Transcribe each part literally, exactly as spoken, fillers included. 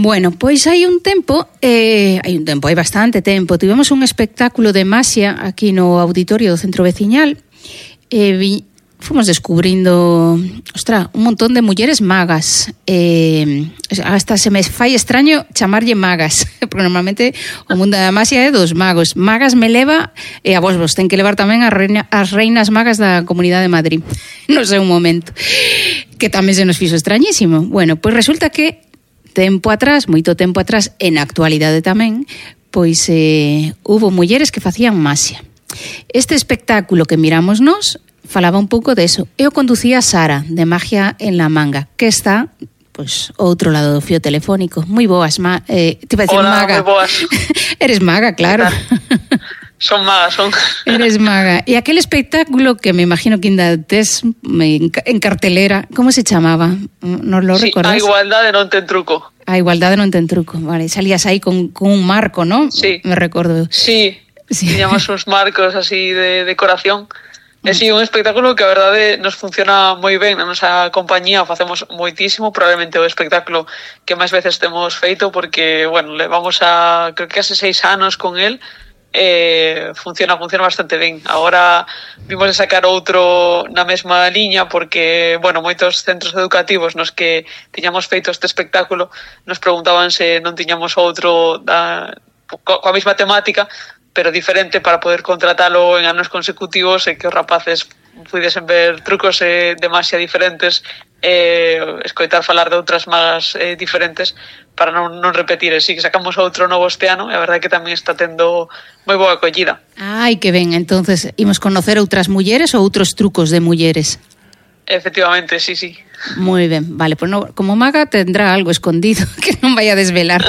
Bueno, pois hai un tempo, eh, hai un tempo, hai bastante tempo, tivemos un espectáculo de maxia aquí no auditorio do Centro Veciñal e vi, fomos descubrindo, ostra, un montón de mulleres magas. Eh, hasta se me fai extraño chamarlle magas, porque normalmente o mundo da maxia é dos magos. Magas me leva, e a vos vos ten que levar tamén as, reina, as reinas magas da Comunidade de Madrid. Non sei un momento. Que tamén se nos fixo extrañísimo. Bueno, pois resulta que tempo atrás, moito tempo atrás, en actualidade tamén, pois eh, hubo mulleres que facían maxia. Este espectáculo que miramos nós falaba un pouco de eso. Eu conducía a Sara, de Magia en la Manga, que está, pois, ao outro lado do fío telefónico. Moi boas, ma eh, te iba a decir Hola, maga. moi boas. Eres maga, claro. Son magas, son. Eres maga. E aquel espectáculo que me imagino que ainda tes en cartelera, como se chamaba? Non lo sí, recordas? A igualdade non ten truco. A igualdade non ten truco, vale. Salías aí con, con un marco, ¿no? Sí. Me recordo. Sí, sí. Tiñamos uns marcos así de decoración. É si un espectáculo que a verdade nos funciona moi ben na nosa compañía, facemos moitísimo, probablemente o espectáculo que máis veces temos feito porque, bueno, levamos a, creo que hace seis anos con el, eh, funciona, funciona bastante ben. Agora vimos de sacar outro na mesma liña porque, bueno, moitos centros educativos nos que tiñamos feito este espectáculo nos preguntaban se non tiñamos outro da, coa mesma temática, pero diferente para poder contratalo en anos consecutivos e que os rapaces puidesen ver trucos eh, de maxia diferentes e eh, escoitar falar de outras magas eh, diferentes para non, non repetir. E si que sacamos outro novo este ano e a verdade é que tamén está tendo moi boa acollida. Ai, que ben, entonces imos conocer outras mulleres ou outros trucos de mulleres? Efectivamente, sí, sí. Moi ben, vale, pues no, como maga tendrá algo escondido que non vai a desvelar.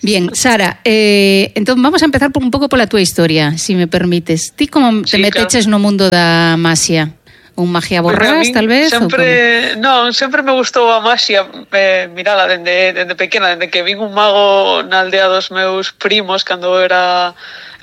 Bien, Sara, eh, entón vamos a empezar por un pouco pola túa historia, si me permites. Ti como te sí, meteches claro. no mundo da maxia? Un magia borrás, tal vez? Sempre, non, sempre me gustou a maxia, eh, mirala, dende, dende pequena, dende que vin un mago na aldea dos meus primos, cando era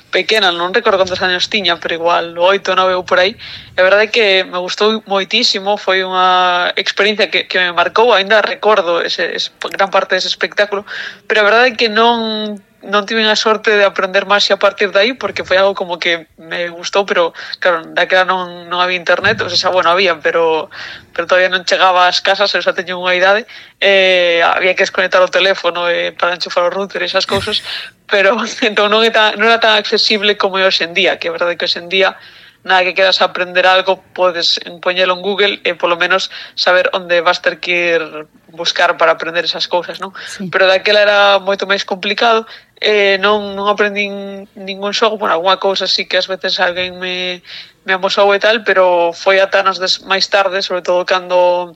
pequena, non recordo cantos anos tiña, pero igual oito, nove ou por aí. A verdade é que me gustou moitísimo, foi unha experiencia que, que me marcou, ainda recordo ese, ese, gran parte dese espectáculo, pero a verdade é que non non tive a sorte de aprender maxia a partir de aí, porque foi algo como que me gustou, pero claro, daquela non, non había internet, o sea, bueno, había, pero pero todavía non chegaba ás casas, eu xa teño unha idade, eh, había que desconectar o teléfono eh, para enchufar o router e esas cousas, pero entón non, é tan, non era tan accesible como é hoxe en día, que é verdade que hoxe en día nada que queras aprender algo, podes poñelo en Google e polo menos saber onde vas ter que ir buscar para aprender esas cousas, non? Sí. Pero daquela era moito máis complicado, eh, non, non aprendín ningún xogo, bueno, alguna cousa sí que ás veces alguén me, me amosou e tal, pero foi ata anos des, máis tarde, sobre todo cando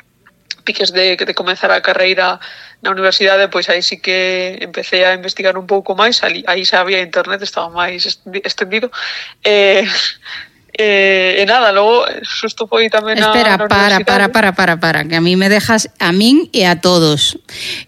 piques de, de comenzar a carreira na universidade, pois aí sí que empecé a investigar un pouco máis, aí, aí xa había internet, estaba máis estendido, e... Eh, Eh, e nada, logo xusto foi tamén na, Espera, na para, para, para, para, para, que a mí me dejas, a min e a todos.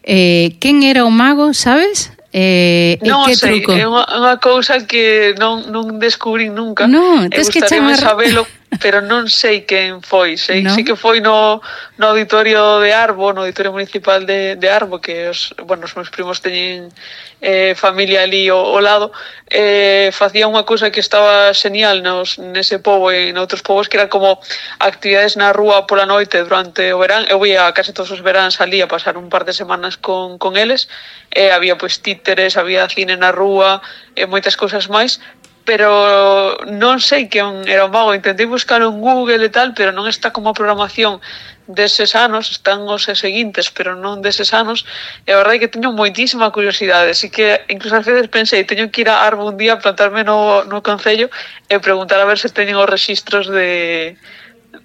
Eh, quen era o mago, sabes? Eh, non que sei, truco? é unha, unha cousa que non, non descubrín nunca. Non, tes que chamar... sabelo, pero non sei quen foi. Sei, no? sei que foi no, no auditorio de Arbo, no auditorio municipal de, de Arbo, que os, bueno, os meus primos teñen eh, familia ali ao, ao lado, eh, facía unha cousa que estaba genial nos, nese pobo e noutros povos, que era como actividades na rúa pola noite durante o verán. Eu ia case todos os veráns ali a pasar un par de semanas con, con eles, e había pois títeres, había cine na rúa e moitas cousas máis, pero non sei quen era o mago. Intentei buscalo en Google e tal, pero non está como a programación deses anos, están os seguintes, pero non deses anos, e a verdade é que teño moitísima curiosidade, así que incluso ás veces pensei, teño que ir a Arbo un día, plantarme no, no concello e preguntar a ver se teñen os registros de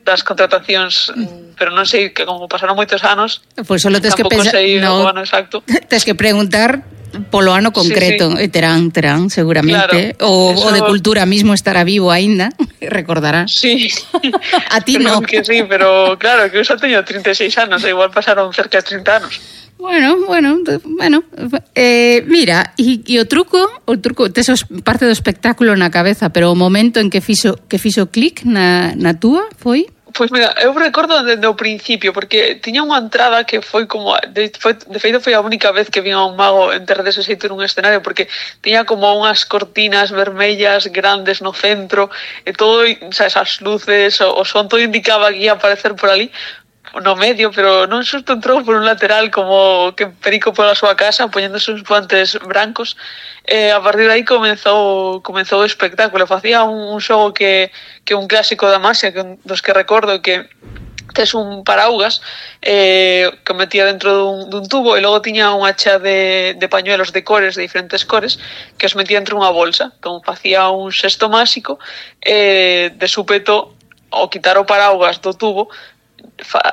das contratacións, pero non sei, que como pasaron moitos anos, pois solo tes que pensar, no, o ano exacto. Tes que preguntar polo ano concreto, sí, sí. E terán, terán, seguramente, claro, o, eso... o de cultura mismo estará vivo aínda, recordarás. Sí. A ti non. Que sí, pero claro, que eu xa teño trinta e seis anos, e igual pasaron cerca de trinta anos. Bueno, bueno, bueno, eh, mira, e, e o truco, o truco, tes parte do espectáculo na cabeza, pero o momento en que fixo que fixo clic na, na túa foi? Pois mira, eu recordo desde o principio, porque tiña unha entrada que foi como, de, foi, de feito foi a única vez que vin a un mago entrar dese xeito nun escenario, porque tiña como unhas cortinas vermellas grandes no centro, e todo, sabes, as luces, o, o son, todo indicaba que ia aparecer por ali, no medio, pero non xusto entrou por un lateral como que perico pola súa casa poñéndose uns guantes brancos. Eh, a partir de aí comenzou comenzou o espectáculo. Facía un, un xogo que que un clásico da Masia, que dos que recordo, que tes un paraugas eh, que metía dentro dun, dun tubo, e logo tiña unha chea de, de pañuelos de cores, de diferentes cores, que os metía entre unha bolsa. Entón facía un xesto máxico, eh, de súpeto, ao quitar o paraugas do tubo,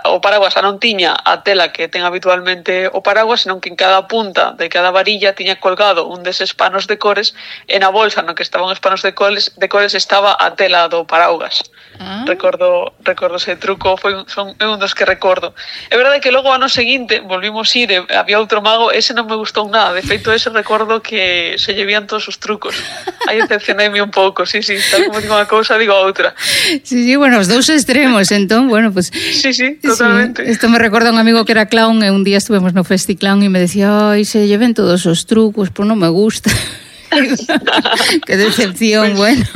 o paraguas xa non tiña a tela que ten habitualmente o paraguas, senón que en cada punta de cada varilla tiña colgado un deses panos de cores, e na bolsa no que estaban os panos de cores, de cores estaba a tela do paraugas. Ah. Recordo recordo ese truco, foi son é un dos que recordo. É verdade que logo ano seguinte volvimos ir, e había outro mago, ese non me gustou nada, de feito ese recordo que se llevían todos os trucos. Aí decepcionei-me un pouco, sí, sí, tal como digo unha cousa, digo a outra. Sí, sí, bueno, os dous extremos, entón, bueno, pues sí, sí, totalmente. Sí, esto me recorda a un amigo que era clown, e un día estuvemos no Festiclown e me decía, ai, se lleven todos os trucos, pois non me gusta. Que decepción, bueno,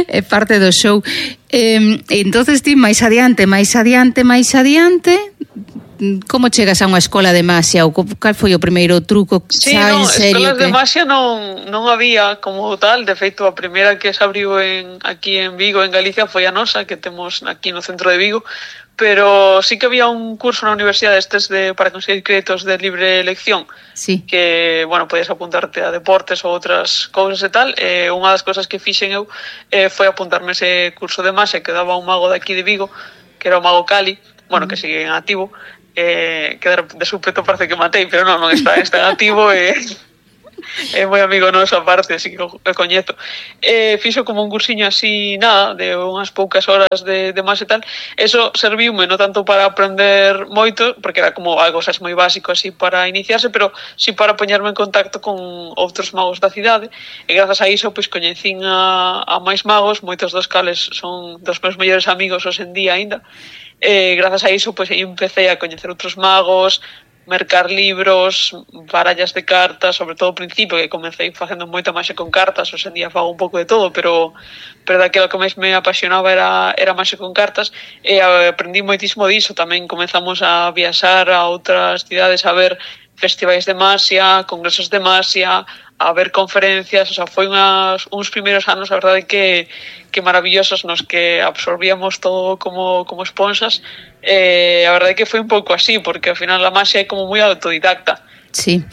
é parte do show. Eh, entonces ti, máis adiante, máis adiante, máis adiante, como chegas a unha escola de masia, ou cal foi o primeiro truco sí, xa no, en serio? Escolas que... de masia non, non había como tal, de feito a primeira que se abriu en, aquí en Vigo, en Galicia, foi a nosa, que temos aquí no centro de Vigo, pero sí que había un curso na universidade estes de, para conseguir créditos de libre elección, sí. Que, bueno, podías apuntarte a deportes ou outras cousas e tal, e unha das cousas que fixen eu eh, foi apuntarme ese curso de masia que daba un mago de aquí de Vigo, que era o mago Cali, bueno, que sigue en activo, eh, que de súpeto parece que matei, pero non, non está, está en activo e... é moi amigo noso aparte, así que o coñezo. Eh, fixo como un cursiño así, nada, de unhas poucas horas de, de máis e tal. Eso serviume non tanto para aprender moito, porque era como algo xa moi básico así para iniciarse, pero sí para poñerme en contacto con outros magos da cidade, e grazas a iso pois coñecín a, a máis magos, moitos dos cales son dos meus mellores amigos hoxe en día aínda. Eh, grazas a iso pois aí empecé a coñecer outros magos, mercar libros, barallas de cartas, sobre todo ao principio, que comecei facendo moita máis con cartas, hoxe en día fago un pouco de todo, pero pero daquilo que máis me apasionaba era, era máis con cartas, e aprendí moitísimo diso. Tamén comezamos a viaxar a outras cidades, a ver festivais de masia, congresos de masia, a ver conferencias, o sea, foi unhas, uns primeiros anos, a verdade, que, que maravillosos, nos que absorbíamos todo como, como esponxas. Eh, a verdade que foi un pouco así, porque ao final a masia é como moi autodidacta. Sí.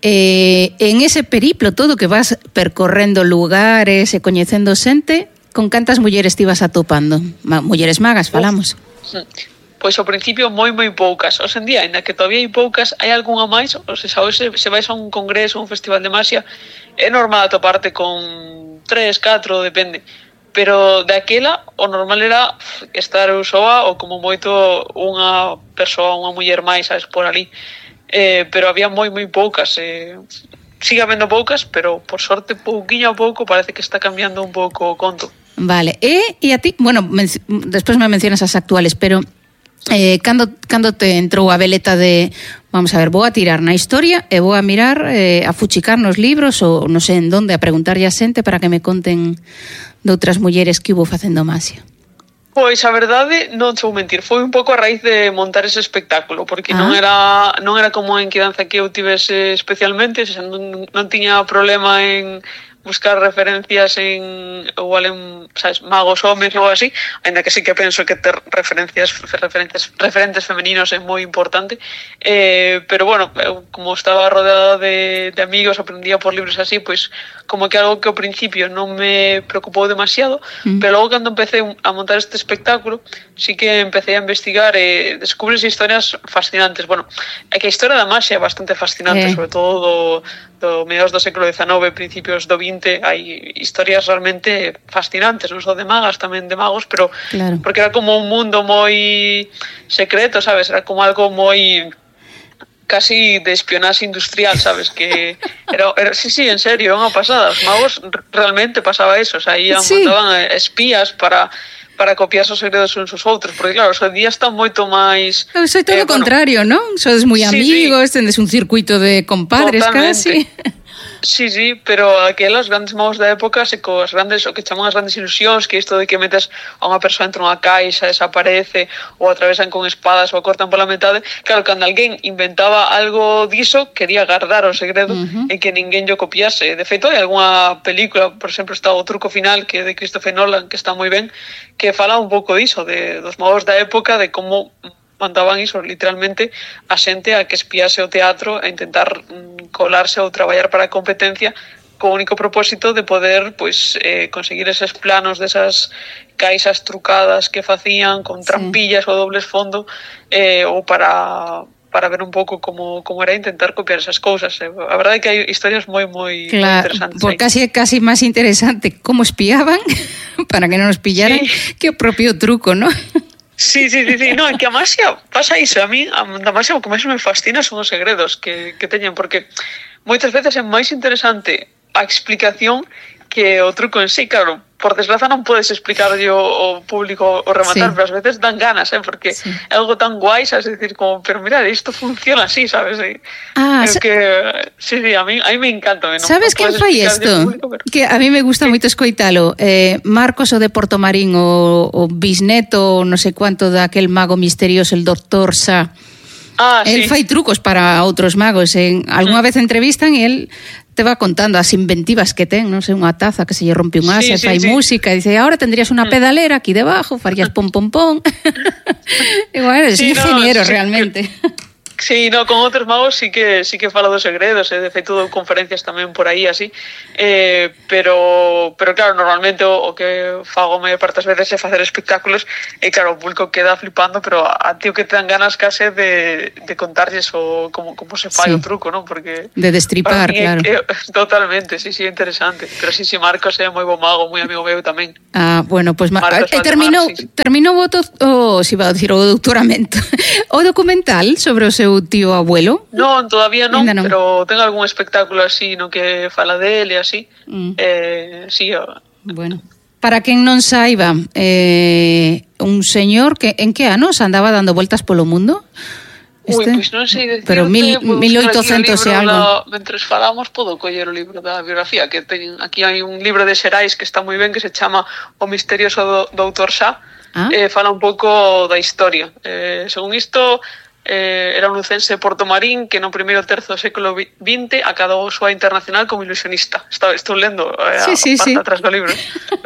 Eh, en ese periplo todo que vas percorrendo lugares e coñecendo xente, con cantas mulleres te ibas atopando? Ma, mulleres magas, falamos. Sí. Pois ao principio moi moi poucas. Hoxe en día, ainda que todavía hai poucas, hai algunha máis. O sea, hoxe se vais a un congreso, un festival de masia, é normal atoparte con tres, catro, depende. Pero daquela, o normal era estar eu soa ou como moito unha persoa, unha muller máis, sabes, por ali. Eh, pero había moi moi poucas. Eh, sigue habendo poucas, pero por sorte, pouquiño a pouco, parece que está cambiando un pouco o conto. Vale. E, e a ti, bueno, men- despois me mencionas as actuales, pero... Eh, cando, cando te entrou a veleta de vamos a ver, vou a tirar na historia e vou a mirar, eh, a fuchicar nos libros ou non sei en donde, a preguntarlle a xente para que me conten de outras mulleres que hubo facendo masia? Pois a verdade, non te vou mentir, foi un pouco a raíz de montar ese espectáculo, porque ah. non era non era como en Quidanza que eu tivese especialmente, xa, non, non tiña problema en buscar referencias en igual en, sabes, magos homes ou así, ainda que sí que penso que ter referencias referencias referentes femeninos é moi importante, eh, pero bueno, eu, como estaba rodeada de, de amigos, aprendía por libros así, pois como que algo que ao principio non me preocupou demasiado, mm. pero logo cando empecé a montar este espectáculo, sí que empecé a investigar e descubrí historias fascinantes. Bueno, é que a historia da magia é bastante fascinante, eh. sobre todo do do mediados do século dezanove, principios do vinte, hai historias realmente fascinantes, non só de magas, tamén de magos, pero claro. Porque era como un mundo moi secreto, sabes? Era como algo moi casi de espionaxe industrial, sabes? Que era, era sí, sí, en serio, unha pasada. Os magos realmente pasaba eso, o sea, ian, sí. Montaban espías para para copiarse os segredos uns aos outros, porque claro, hoxe día está moito máis... Eu sei todo o eh, contrario, bueno, non? Sodes moi amigos, sí, sí. Tendes un circuito de compadres. Totalmente. Casi. Sí, sí, pero aquelas grandes magos da época se coas grandes, o que chaman as grandes ilusións, que isto de que metes a unha persoa entre unha caixa, desaparece, ou atravesan con espadas ou cortan pola metade. Claro, cando alguén inventaba algo diso, quería guardar o segredo uh-huh. e que ninguén yo copiase. De feito, hai algunha película, por exemplo, está O truco final, que é de Christopher Nolan, que está moi ben, que fala un pouco diso, de, dos magos da época, de como mandaban iso, literalmente, a xente a que espiase o teatro a intentar mm, colarse ou traballar para a competencia co único propósito de poder pois, eh, conseguir eses planos desas caixas trucadas que facían con trampillas sí. ou dobles fondo eh, ou para... para ver un pouco como, como era intentar copiar esas cousas. A verdade é que hai historias moi, moi, claro, moi interesantes. Por casi, casi máis interesante como espiaban para que non nos pillaran sí. que o propio truco, ¿no? Sí, sí, sí, sí, no, é que a Masia pasa iso, a mí, a Masia o que máis me fascina son os segredos que, que teñen, porque moitas veces é máis interesante a explicación que o truco en sí, claro, por desgraza non podes explicar yo o público o rematar, sí. pero ás veces dan ganas, eh, porque sí. é algo tan guai, sabes, decir, como, pero mira, isto funciona así, sabes, e, ah, es que, sí, sí, a mí, a mí me encanta. Non, sabes quen fai isto? Público, pero... Que a mí me gusta sí. moito escoitalo, eh, Marcos o de Portomarín, o, o bisneto, non sei cuánto, daquel mago misterioso, el doctor Sa. Ah, el sí. fai trucos para outros magos, en algunha mm. vez entrevistan e el te va contando as inventivas que ten, non sei, unha taza que se lle rompe un asa, sí, sí, fai sí. música, e dice, ahora tendrías unha pedalera aquí debajo, farías pom pom pom. E bueno, es sí, ingeniero no, sí, realmente. Que... Sí, no, con outros magos sí que sí que fala dos segredos, e de feito dou conferencias tamén por aí así, eh, pero pero claro, normalmente o, o que fago maior parte das veces é facer espectáculos e claro, o público queda flipando, pero a ti o que te dan ganas case de, de contarlles o como, como se fai sí. o truco, non? Porque de destripar, claro. É, totalmente, sí, sí, interesante, pero sí, sí, Marcos é moi bo mago, moi amigo meu tamén. Ah, bueno, pues Marcos, eh, terminou, sí, sí. terminou o, to, o, si va a decir, o doutoramento, o documental sobre o seu tío abuelo? Non, todavía non, non, pero ten algún espectáculo así no que fala dele, así. Mm. Eh, sí, o... Bueno, para quen non saiba, eh, un señor que en que anos andaba dando voltas polo mundo? Este? Ui, pois non sei decirte, pero mil, mil oitocentos e algo. Da, mentres falamos, podo coller o libro da biografía, que ten, aquí hai un libro de Xerais que está moi ben, que se chama O misterioso do, doutor Sa, ah? eh, fala un pouco da historia. Eh, según isto... Eh, era un lucense de Portomarín que no primeiro terzo do século vinte acadou a súa internacional como ilusionista. Estou, estou lendo eh, sí, sí, a parte sí. atrás do libro.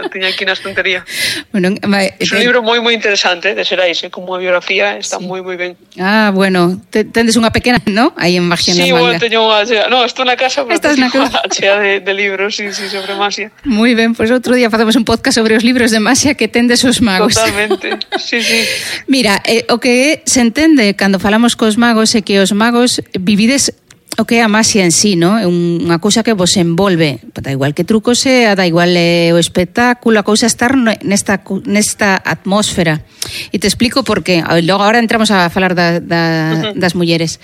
Lo tiña aquí na estantería. Bueno, é un libro moi moi interesante de Xerais, eh, como a biografía, está sí. moi moi ben. Ah, bueno, te, tendes unha pequena, ¿no? Aí en Magia sí, na manga. Sí, bueno, teño unha chea. No, estou na casa, pero Estás na casa chea de, de libros, sí, sí, sobre Magia. Moi ben, pois pues outro día facemos un podcast sobre os libros de Magia que tendes os magos. Totalmente, sí, sí. Mira, eh, o que se entende cando falamos cos magos é que os magos vivides o que é a magia en sí, ¿no? É unha cousa que vos envolve, da igual que truco sea, da igual é o espectáculo, a cousa estar nesta nesta atmósfera. E te explico por qué. Logo agora entramos a falar da, da, das mulleres.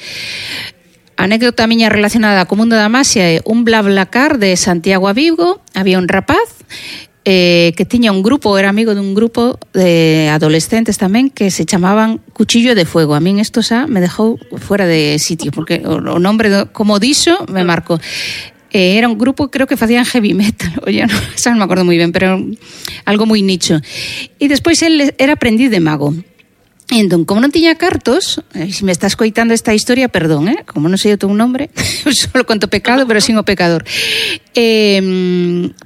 A anécdota miña relacionada co mundo da magia é un BlaBlaCar de Santiago a Vigo, había un rapaz Eh, que tiña un grupo, era amigo dun grupo de adolescentes tamén que se chamaban Cuchillo de Fuego. A min isto xa me dejou fuera de sitio porque o, o nombre, do, como dixo, me marcou. Eh, era un grupo, creo que facían heavy metal, oye, no, xa non me acordo moi ben, pero algo moi nicho. E despois el era aprendiz de mago. E entón, como non tiña cartos, eh, se me estás coitando esta historia, perdón, eh, como non sei o teu nombre, solo conto pecado, pero sin o pecador. Eh,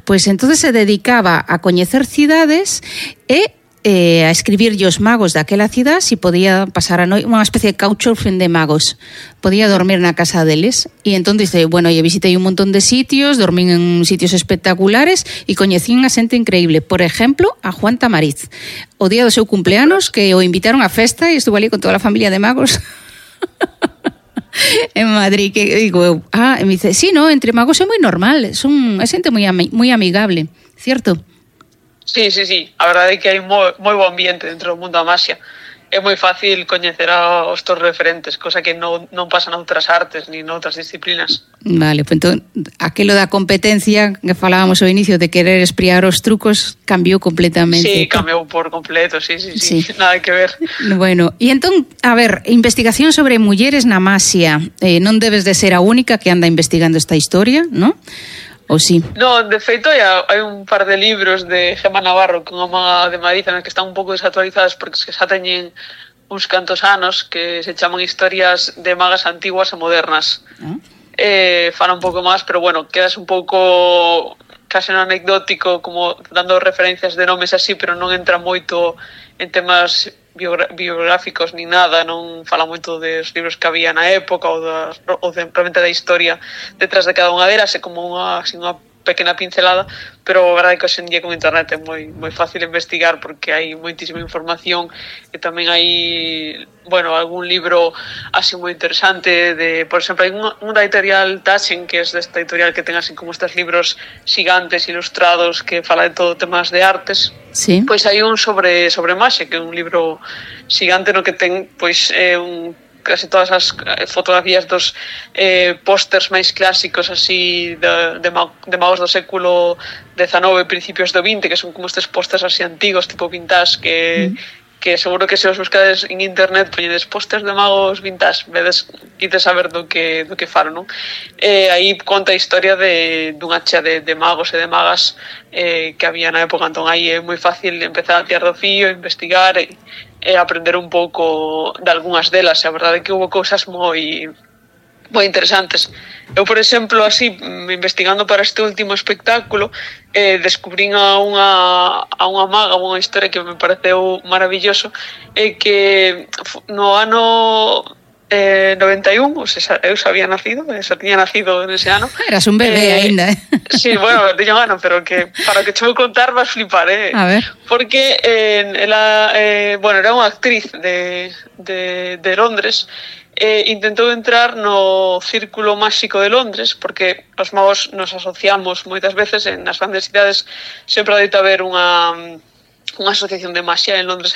pois pues, entonces se dedicaba a coñecer cidades e eh, a escribirlle os magos daquela cidade se podía pasar a noite, unha especie de couchsurfing de magos. Podía dormir na casa deles. E entón dice, bueno, eu visitei un montón de sitios, dormín en sitios espectaculares e coñecín a xente increíble. Por exemplo, a Juan Tamariz. O día do seu cumpleanos, que o invitaron a festa e estuvo ali con toda a familia de magos en Madrid, que digo eu, ah, e me dice, sí, no, entre magos é moi normal, son, é xente moi, ami, moi amigable, cierto? Sí, sí, sí, a verdade é que hai moi, moi bo ambiente dentro do mundo da magia. é moi fácil coñecer a, os teus referentes, cosa que non, non pasa noutras artes ni noutras disciplinas. Vale, pues entón, aquilo da competencia que falábamos ao inicio de querer espiar os trucos cambiou completamente. Sí, cambiou por completo, sí, sí, sí, sí. Nada que ver. Bueno, e entón, a ver, investigación sobre mulleres na maxia, eh, non debes de ser a única que anda investigando esta historia, non? Ou sí? No, de feito, hai, hai un par de libros de Gemma Navarro, que é unha maga de Madrid, que están un pouco desactualizadas porque xa teñen uns cantos anos, que se chaman historias de magas antiguas e modernas. ¿Ah? Eh, fan un pouco máis, pero bueno, quedas un pouco case un anecdótico, como dando referencias de nomes así, pero non entra moito en temas biográficos ni nada, non fala moito dos libros que había na época ou, das, ou de, realmente da historia detrás de cada unha delas, é como unha, así, unha pequena pincelada, pero a verdade é que hoxe en día con internet é moi, moi fácil investigar porque hai moitísima información e tamén hai, bueno, algún libro así moi interesante de, por exemplo, hai un, un da editorial Taschen, que é desta editorial que ten así como estes libros gigantes ilustrados que fala de todo temas de artes. Sí. Pois hai un sobre sobre maxia, que é un libro xigante no que ten pois eh, un casi todas as fotografías dos eh, pósters máis clásicos así de, de, de magos do século dezanove, principios do vinte, que son como estes pósters así antigos, tipo vintage, que, mm. que seguro que se os buscades en internet poñedes pósters de magos vintage, vedes, quites saber do que, do que faro, non? Eh, aí conta a historia de, dunha chea de, de magos e de magas eh, que había na época, entón aí é moi fácil empezar a tirar do fío, investigar e e aprender un pouco de algunhas delas, e a verdade é que houve cousas moi moi interesantes. Eu, por exemplo, así, investigando para este último espectáculo, eh, descubrín a unha, a unha maga, unha historia que me pareceu maravilloso, e que no ano eh, noventa e un, ou sea, eu xa había nacido, xa tiña nacido nese ano. Eras un bebé eh, aínda, eh? Sí, bueno, tiña un ano, pero que para que che vou contar vas flipar, eh? A ver. Porque eh, ela, eh, bueno, era unha actriz de, de, de Londres, e intentou entrar no círculo máxico de Londres, porque os magos nos asociamos moitas veces en nas grandes cidades, sempre adoita haber unha unha asociación de maxia. En Londres hai